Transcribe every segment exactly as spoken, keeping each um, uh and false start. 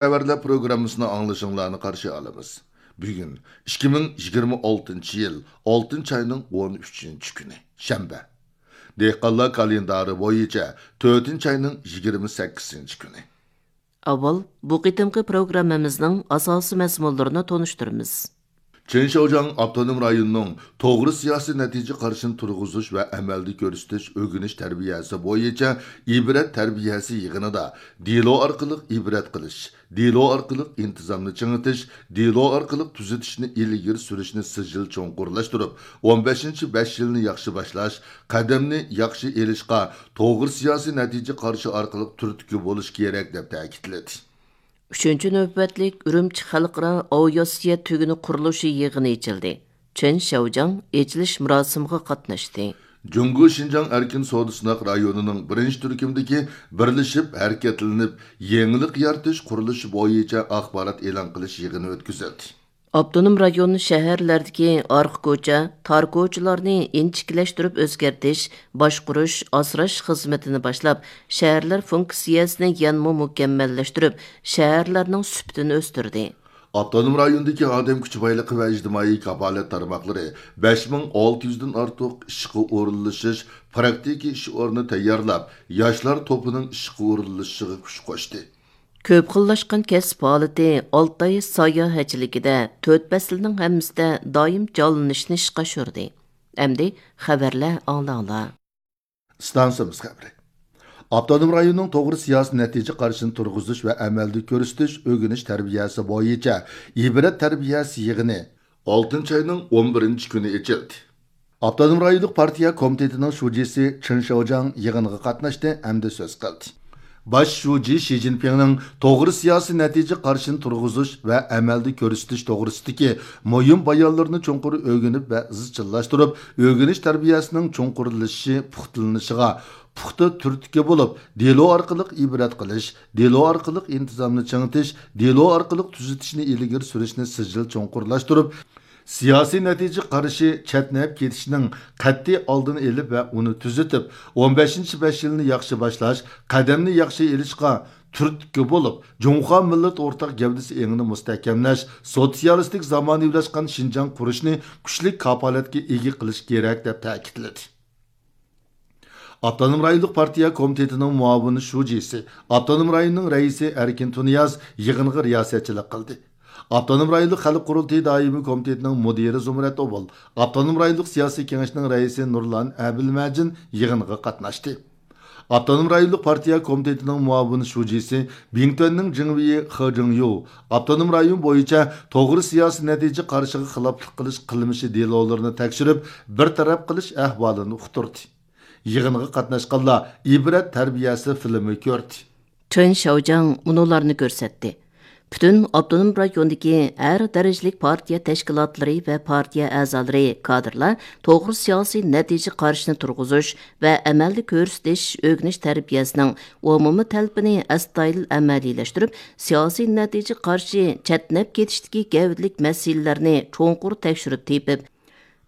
خەۋەرلەر پروگراممىسىنى ئاڭلىشىڭلارنى قارشى ئالىمىز. بۈگۈن ئىككى مىڭ يىگىرمە ئالتىنچى يىل ئالتىنچى ئاينىڭ ئون ئۈچىنچى كۈنى، شەنبە. دېھقانلار كالېندارى بويىچە تۆتىنچى ئاينىڭ يىگىرمە سەككىزىنچى كۈنى. ئاۋۋال بۇ قېتىمقى پروگراممىمىزنىڭ ئاساسىي مەزمۇنلىرىنى تونۇشتۇرىمىز. چېن شياۋجياڭ ئاپتونوم رايونىنىڭ توغرا سىياسىي نەتىجە قارىشىنى تۇرغۇزۇش ۋە ئەمەلدە كۆرسىتىش ئۆگىنىش تەربىيەسى بويىچە ئىبرەت تەربىيەسى يىغىنىدا دېلو ئارقىلىق ئىبرەت قىلىش، دېلو ئارقىلىق ئىنتىزامنى چىڭىتىش، دېلو ئارقىلىق تۈزىتىشنى ئىلگىرى سۈرۈشنى سىجىل چوڭقۇرلاشتۇرۇپ، ئون بەشىنچى بەش يىلنى ياخشى باشلاش، قەدەمنى ياخشى ئېلىشقا توغرا سىياسىي نەتىجە قارىشى ئارقىلىق تۈرتكە بولۇش كېرەك، دەپ تەكىتلىدى. ئۈچىنچى نۆۋەتلىك ئۈرۈمچى خەلقئارا ئاۋىئاتسىيە تۈگۈنى قۇرۇلۇشى يىغىنى ئېچىلدى. چېن شياۋجياڭ ئېچىلىش مۇراسىمىغا قاتناشتى. جۇڭگو شىنجاڭ ئەركىن سودا سىناق رايونىنىڭ بىرىنچى تۈركۈمدىكى بىرلىشىپ ھەرىكەتلىنىپ يېڭىلىق يارىتىش قۇرۇلۇشى بويىچە ئاخبارات ئېلان قىلىش يىغىنى ئۆتكۈزۈلدى. ئاپتونوم رايون شەھەرلەردىكى ئارقا كوچا، تار كوچىلارنى ئىنچىكىلەشتۈرۈپ ئۆزگەرتىش، باشقۇرۇش، ئاسراش خىزمىتىنى باشلاپ، شەھەرلەر فۇنكسىيەسىنى يەنىمۇ مۇكەممەللەشتۈرۈپ، شەھەرلەرنىڭ سۈپىتىنى ئۆستۈردى. ئاپتونوم رايوندىكى ئادەم كۈچى بايلىقى ۋە ئىجتىمائىي كاپالەت تارماقلىرى بەش مىڭ ئالتە يۈزدىن ئارتۇق ئىشقا ئورۇنلىشىش، پراكتىكا ئىش ئورنى تەييارلاپ، ياشلار توپىنىڭ ئىشقا ئورۇنلىشىشىغا كۈچ قوشتى. كۆپ خىللاشقان كەسىپ ھالىتى ئالتاي ساياھەتچىلىكىدە تۆت پەسىلنىڭ ھەممىسىدە دائىم جانلىنىشنى ئىشقا ئاشۇردى. ئەمدى خەۋەرلەر ئاڭلاڭلار. ئىستانسىمىز خەۋىرى. ئاپتونوم رايوننىڭ توغرا سىياسىي نەتىجە قارىشىنى تۇرغۇزۇش ۋە ئەمەلدە كۆرسىتىش ئۆگىنىش تەربىيەسى بويىچە ئىبرەت تەربىيەسى يىغىنى ئالتىنچى ئاينىڭ ئون بىرىنچى كۈنى ئېچىلدى. ئاپتونوم رايونلۇق پارتىيە كومىتېتىنىڭ شۇجىسى چېن شياۋجياڭ يىغىنغا قاتناشتى ھەمدە سۆز قىلدى. باش شۇجى شى جىنپىڭنىڭ توغرا سىياسىي نەتىجە قارىشىنى تۇرغۇزۇش ۋە ئەمەلدە كۆرسىتىش توغرىسىدىكى مۇھىم بايانلىرىنى چوڭقۇر ئۆگىنىپ ۋە ئىزچىللاشتۇرۇپ، ئۆگىنىش تەربىيەسىنىڭ چوڭقۇرلىشىشى، پۇختىلىنىشىغا پۇختا تۈرتكە بولۇپ، دېلو ئارقىلىق ئىبرەت قىلىش، دېلو ئارقىلىق ئىنتىزامنى چىڭىتىش، دېلو ئارقىلىق تۈزىتىشنى ئىلگىرى سۈرۈشنى سىجىل چوڭقۇرلاشتۇرۇپ، سىياسىي نەتىجە قارىشى چەتنەپ كېتىشنىڭ قەتئىي ئالدىنى ئېلىپ ۋە ئۇنى تۈزىتىپ، ئون بەشىنچى بەش يىلنى ياخشى باشلاش، قەدەمنى ياخشى ئېلىشقا تۈرتكە بولۇپ، جۇڭخۇا مىللەت ئورتاق گەۋدىسى ئېڭىنى مۇستەھكەملەش، سوتسىيالىستىك زامانىۋىلاشقان شىنجاڭ قۇرۇشنى كۈچلۈك كاپالەتكە ئىگە قىلىش كېرەك، دەپ تەكىتلىدى. ئاپتونوم رايونلۇق پارتىيە كومىتېتىنىڭ مۇئاۋىن شۇجىسى، ئاپتونوم رايوننىڭ رەئىسى ئەركىن تۇنىياز يىغىنغا رىياسەتچىلىك قىلدى. ئاپتونوم رايونلۇق خەلق قۇرۇلتىيى دائىمىي كومىتېتىنىڭ مۇدىرى زۇمرەت ئوبۇل، ئاپتونوم رايونلۇق سىياسىي كېڭەشنىڭ رەئىسى نۇرلان ئەبىلمەجىن يىغىنغا قاتناشتى. ئاپتونوم رايونلۇق پارتىيە كومىتېتىنىڭ مۇئاۋىن شۇجىسى، بىڭتۈەننىڭ جىڭۋېيى خې جىڭيۇ ئاپتونوم رايون بويىچە توغرا سىياسىي نەتىجە قارىشىغا خىلاپلىق قىلىش قىلمىشى دېلولىرىنى تەكشۈرۈپ، بىر تەرەپ قىلىش ئەھۋالىنى ئۇقتۇردى. يىغىنغا قاتناشقانلار ئىبرەت تەربىيەسى فىلىمى كۆردى. چېن شياۋجياڭ مۇنۇلارنى كۆرسەتتى. پۈتۈن ئاپتونوم رايوندىكى ھەر دەرىجىلىك پارتىيە تەشكىلاتلىرى ۋە پارتىيە ئەزالىرى، كادىرلار توغرا سىياسىي نەتىجە قارىشىنى تۇرغۇزۇش ۋە ئەمەلدە كۆرسىتىش ئۆگىنىش تەربىيەسىنىڭ ئومۇمىي تەلىپىنى ئەستايىدىل ئەمەلىيلەشتۈرۈپ، سىياسىي نەتىجە قارىشى چەتنەپ كېتىشتىكى گەۋدىلىك مەسىلىلەرنى چوڭقۇر تەكشۈرۈپ تېپىپ،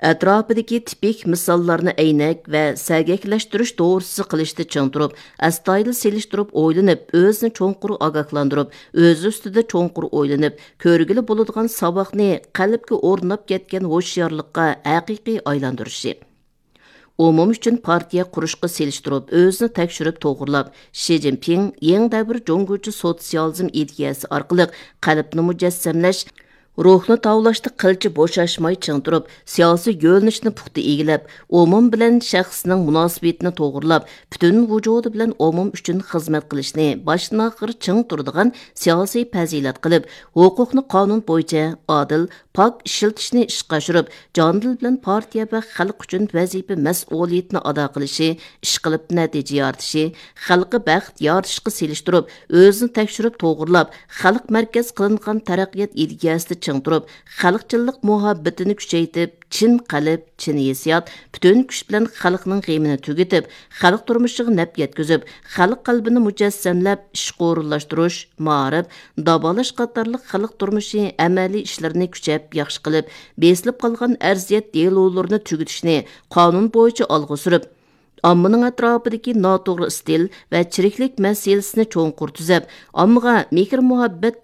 ئەتراپىدىكى تىپىك مىساللارنى ئەينەك ۋە سەگەكلەشتۈرۈش توغرىسىدا قىلىشتا چىڭ تۇرۇپ، ئەستايىدىل سېلىشتۇرۇپ ئويلىنىپ، ئۆزىنى چوڭقۇر ئاگاھلاندۇرۇپ، ئۆزى ئۈستىدە چوڭقۇر ئويلىنىپ، كۆرگىلى بولىدىغان ساۋاقنى قەلبكە ئورناپ كەتكەن ھوشيارلىققا ھەقىقىي ئايلاندۇرۇشى. ئومۇم ئۈچۈن پارتىيە قۇرۇشقا سېلىشتۇرۇپ، ئۆزىنى تەكشۈرۈپ توغرىلاپ، شى جىنپىڭ يېڭى دەۋر جۇڭگوچە سوتسىيالىزم ئىدىيەسى ئارقىلىق قەلبنى مۇجەسسەملەش، روھنى تاۋلاشتا قىلچە بوشاشماي چىڭ تۇرۇپ، سىياسىي يۆنىلىشنى پۇختا ئىگىلەپ، ئومۇم بىلەن شەخسنىڭ مۇناسىۋىتىنى توغرىلاپ، پۈتۈن ۋۇجۇدى بىلەن ئومۇم ئۈچۈن خىزمەت قىلىشنى باشتىن ئاخىر چىڭ تۇرىدىغان سىياسىي پەزىلەت قىلىپ، ھوقۇقنى قانۇن بويىچە ئادىل، پاك ئىشلىتىشنى ئىشقا ئاشۇرۇپ، جان دىل بىلەن پارتىيە ۋە خەلق ئۈچۈن ۋەزىپە مەسئۇلىيىتىنى ئادا قىلىشى، ئىشقىلىپ نەتىجە يارىتىشى، خەلققە بەخت يارىتىشقا سېلىشتۇرۇپ، ئۆزىنى تەكشۈرۈپ توغرىلاپ، خەلق مەركەز قىلىنغان تەرەققىيات ئىدىيەسىدە چىڭ تۇرۇپ، خەلقچىللىق مۇھەببىتىنى كۈچەيتىپ، چىن قەلب، چىن ھېسسىيات، پۈتۈن كۈچ بىلەن خەلقنىڭ غېمىنى تۈگىتىپ، خەلق تۇرمۇشىغا نەپ يەتكۈزۈپ، خەلق قەلبىنى مۇجەسسەملەپ، ئىشقا ئورۇنلاشتۇرۇش، مائارىپ، داۋالاش قاتارلىق خەلق تۇرمۇشى ئەمەلىي ئىشلىرىنى كۈچەپ ياخشى قىلىپ، بېسىلىپ قالغان ئەرزىيەت دېلولىرىنى تۈگىتىشنى قانۇن بويىچە ئالغا سۈرۈپ، ئاممىنىڭ ئەتراپىدىكى ناتوغرا ئىستىل ۋە چىرىكلىك مەسىلىسىنى چوڭقۇر تۈزەپ، ئاممىغا مېھىر-مۇھەببەت